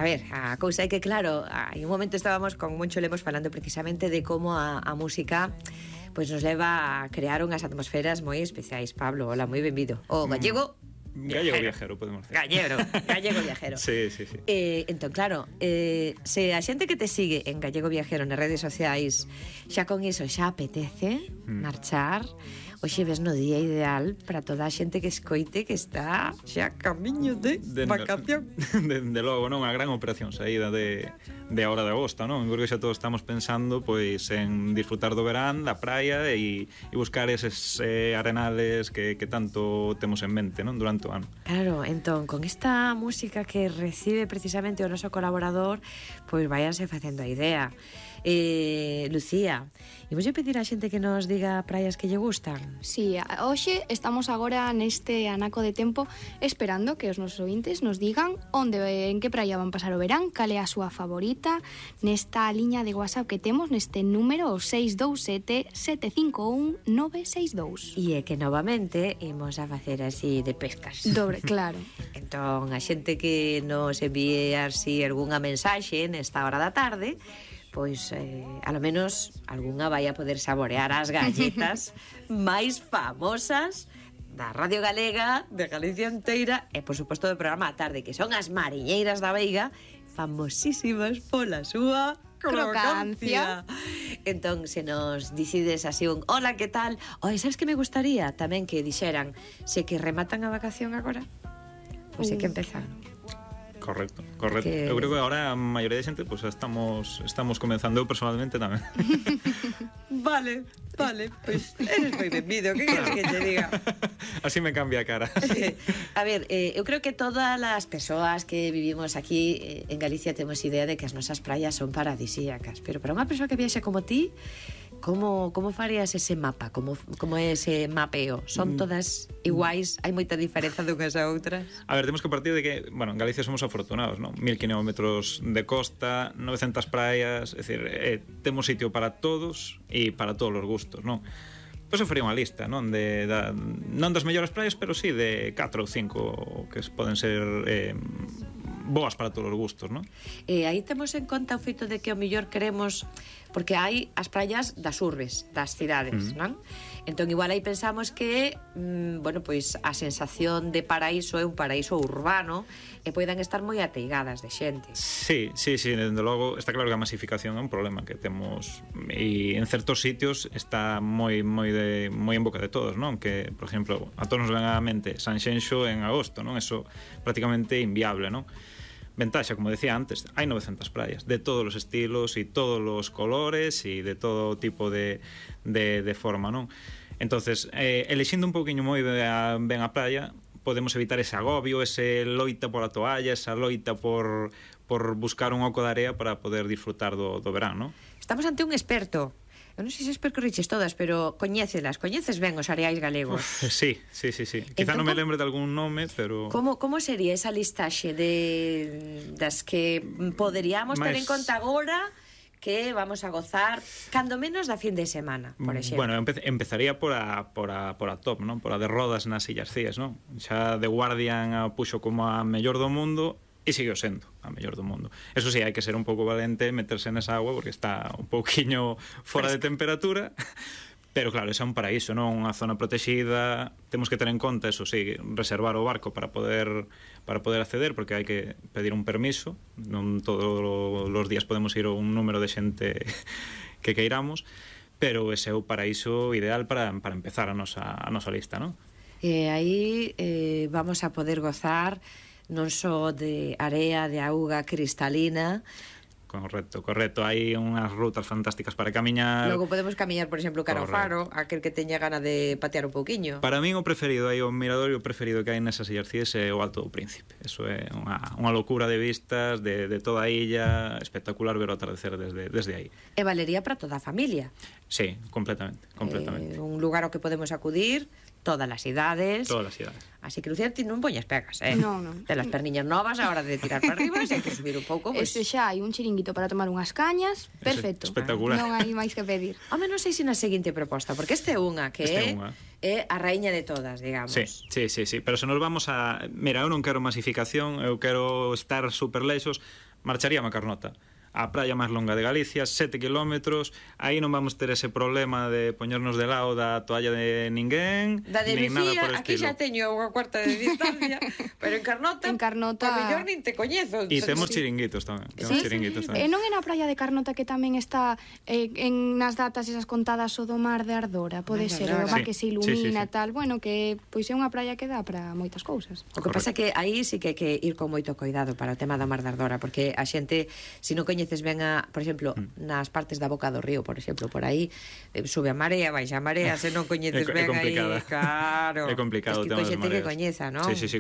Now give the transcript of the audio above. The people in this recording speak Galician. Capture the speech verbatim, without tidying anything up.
A ver, a cousa é que claro, hai un momento estábamos con Moncho Lemos falando precisamente de como a, a música pois pues nos leva a crear unhas atmosferas moi especiais. Pablo, hola, moi benvido. O gallego Gallego viajero, podemos decir. Gallego, gallego viajero. Sí, sí, sí. Eh, entón, claro, eh, se a xente que te sigue en Gallego Viajero nas redes sociais xa con iso xa apetece mm. marchar, hoxe ves no día ideal para toda a xente que escoite que está xa camiño de, de vacación. De, de logo, non? A gran operación saída de, de a hora de agosto, non? Porque xa todos estamos pensando pois en disfrutar do verán, da praia e, e buscar eses eh, arenales que, que tanto temos en mente, non? Durante o ano. Claro, entón, con esta música que recibe precisamente o noso colaborador, pois váyanse facendo a idea. Eh, Lucía, imos pedir a xente que nos diga praias que lle gustan? Sí, hoxe estamos agora neste anaco de tempo esperando que os nosos ouvintes nos digan onde, en que praia van pasar o verán, cal é a súa favorita, nesta liña de WhatsApp que temos, neste número seis dous sete, sete cinco un, nove seis dous. E é que novamente imos a facer así de pescas. Dobre, claro. Entón, a xente que nos envíe así algunha mensaxe nesta hora da tarde, pois eh, a lo menos algunha vai a poder saborear as galletas máis famosas da Radio Galega, de Galicia inteira e, por suposto, do programa a tarde, que son as mariñeiras da Veiga, famosísimas pola súa crocancia. Entón, se nos dicides así un hola, que tal? Oi, sabes que me gustaría tamén que dixeran se que rematan a vacación agora? Pois é que empezan. Correcto, correcto. Que... Eu creo que agora a maioría de xente pues, estamos estamos comenzando, eu personalmente tamén. Vale, vale, pois pues, eres moi benvido, que queres que te diga? Así me cambia a cara. A ver, eh, eu creo que todas as persoas que vivimos aquí eh, en Galicia temos idea de que as nosas praias son paradisíacas, pero para unha persoa que viaxe como ti, como, como farías ese mapa? Como, como é ese mapeo? Son todas iguais? Hai moita diferenza dunhas a outras? A ver, temos que partir de que, bueno, en Galicia somos afortunados, non? Mil kilómetros de costa, novecentas praias, é dicir, eh, temos sitio para todos e para todos os gustos, non? Pois eu faría unha lista, non? De, da, non das mellores praias, pero sí de catro ou cinco que poden ser eh, boas para todos os gustos, non? E aí temos en conta o feito de que o mellor queremos, porque hai as praias das urbes, das cidades, mm. non? Entón igual aí pensamos que mmm, bueno, pois a sensación de paraíso é un paraíso urbano e poidan estar moi ateigadas de xente. Sí, sí, sí, dende logo está claro que a masificación é un problema que temos e en certos sitios está moi moi de moi en boca de todos, non? Que, por exemplo, a todos nos ven á mente Sanxenxo en agosto, non? Eso prácticamente inviable, non? Ventaxa, como decía antes, hai novecentas praias de todos os estilos e todos os colores e de todo tipo de, de, de forma, non? Entonces, eh, elixindo un pouquiño moi ben a, ben a praia, podemos evitar ese agobio, ese loita pola toalla, esa loita por, por buscar un oco de area para poder disfrutar do, do verán, non? Estamos ante un experto. Eu non sei se percorriches todas, pero coñécelas, coñeces ben os areais galegos. Uf, sí, sí, sí, sí. Quizá entón, non me lembre de algún nome, pero... Como, como sería esa listaxe de das que poderíamos Mas... ter en conta agora que vamos a gozar cando menos da fin de semana, por exemplo? Bueno, empe empezaría por a, por a, por a top, non? Por a de Rodas nas Illas Cíes, non? Xa The Guardian a puxo como a mellor do mundo e sigue sendo a mellor do mundo. Eso sí, hai que ser un pouco valente, meterse nesa agua porque está un pouquiño fora de temperatura, pero claro, ese é un paraíso, non? Unha zona protexida, temos que ter en conta, eso sí, reservar o barco para poder para poder acceder, porque hai que pedir un permiso, non todos os días podemos ir a un número de xente que queiramos, pero ese é o paraíso ideal para, para empezar a nosa, a nosa lista, non? E aí eh, vamos a poder gozar non só de area, de auga cristalina. Correcto, correcto. Hai unhas rutas fantásticas para camiñar. Logo podemos camiñar, por exemplo, cara ao faro, aquel que teña gana de patear un pouquiño. Para min o preferido, aí o mirador e o preferido que hai nesas Illas Cíes é o Alto do Príncipe. Eso é unha, unha locura de vistas de, de toda a illa, espectacular ver o atardecer desde, desde aí. E valería para toda a familia. Sí, completamente, completamente. Eh, un lugar ao que podemos acudir todas as idades. Todas as idades. Así que, Lucía, ti non poñas pegas, eh? Non, non. De las perniñas novas a hora de tirar para arriba, se hai que subir un pouco, pues... Ese xa hai un chiringuito para tomar unhas cañas, perfecto. Espectacular. Non hai máis que pedir. Home, non sei se na seguinte proposta, porque este é unha que este é unha. é a raíña de todas, digamos. Sí, sí, sí, sí, pero se nos vamos a... Mira, eu non quero masificación, eu quero estar super leixos, marcharía a Carnota, a praia máis longa de Galicia, sete kilómetros, aí non vamos ter ese problema de poñernos de lado da toalla de ninguén, da de nin nada Lucía, por aquí estilo. xa teño unha cuarta de distancia, pero en Carnota, En Carnota- pa mellor nin te coñezo. E temos Sí. chiringuitos tamén, temos Sí, chiringuitos E tamén. non é na praia de Carnota que tamén está eh, en nas datas esas contadas o do mar de Ardora, pode Mar de ser, o Ardora. mar Sí, que se sí, ilumina sí, sí. tal, bueno, que pois é unha praia que dá para moitas cousas. O que pasa é que aí sí que hai que ir con moito cuidado para o tema da Mar de Ardora, porque a xente, se non coñeces ben a, por exemplo, Mm. nas partes da boca do río, por exemplo, por aí eh, sube a marea, baixa a marea, se non coñeces É co- é ben aí, complicada. claro. É complicado o Es que tema con das xente que mareas. coñeza, non? Sí, sí, sí,